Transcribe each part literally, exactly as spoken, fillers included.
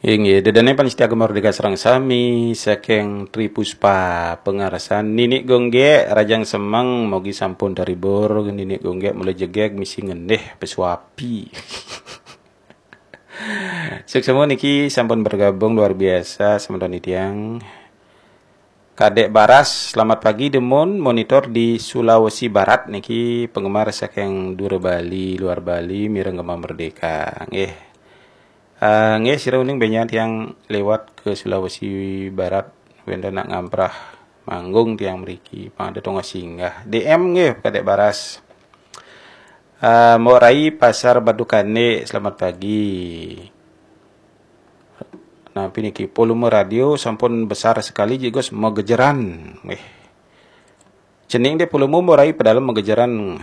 Inggih, dedene panitia Gema Merdeka sareng sami saking Tri Puspa Pengarasan, Ninik Gonggek, Rajang Semeng, mogi sampun terhibur, Ninik Gonggek mulai jegeg misi ngendih pesuapi. Suksma niki sampun bergabung luar biasa semeton titiang. Kadek Baras, selamat pagi Demun, monitor di Sulawesi Barat niki penggemar saking Dura Bali, luar Bali, mireng Gema Merdeka. Nggih. Ah, nggih, sira uning benjang tiang lewat ke Sulawesi Barat, wenten nak ngamprah manggung tiang mriki, pang ada tongah singgah. D M nggih, Kadek Baras. Ah, Mbok Rai Pasar Batu Kande, selamat pagi. Nah, niki volume radio sampun besar sekali, jegos megejeran. Nggih. Cening deh volume Mbok Rai padahal megejeran.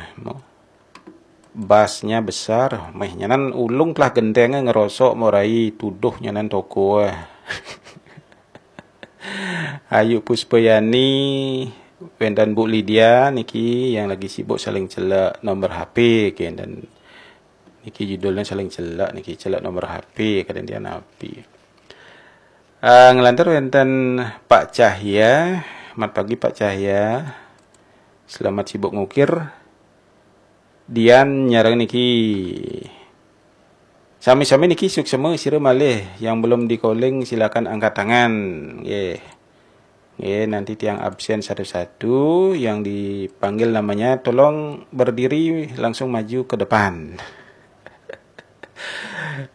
Bassnya besar. Meh nyanan ulung telah gendenge ngerosok Mbok Rai tuduh nyanan toko. Ayu Puspayani, wenten Bu Lydia niki yang lagi sibuk saling celak nomor H P, nggih, dan niki judulnya saling celak niki, celak nomor H P, kadang dia napi. Ah, ngelantur wenten Pak Cahya, mat pagi Pak Cahya. Selamat sibuk ngukir. Dian nyareng niki. Sami-sami niki suksma sira malih yang belum di-calling silakan angkat tangan. Nggih. Nggih, nanti tiang absen satu-satu, yang dipanggil namanya tolong berdiri langsung maju ke depan.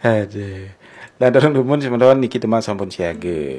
Aduh. Lantaran dumun semeton niki teman sampun siaga.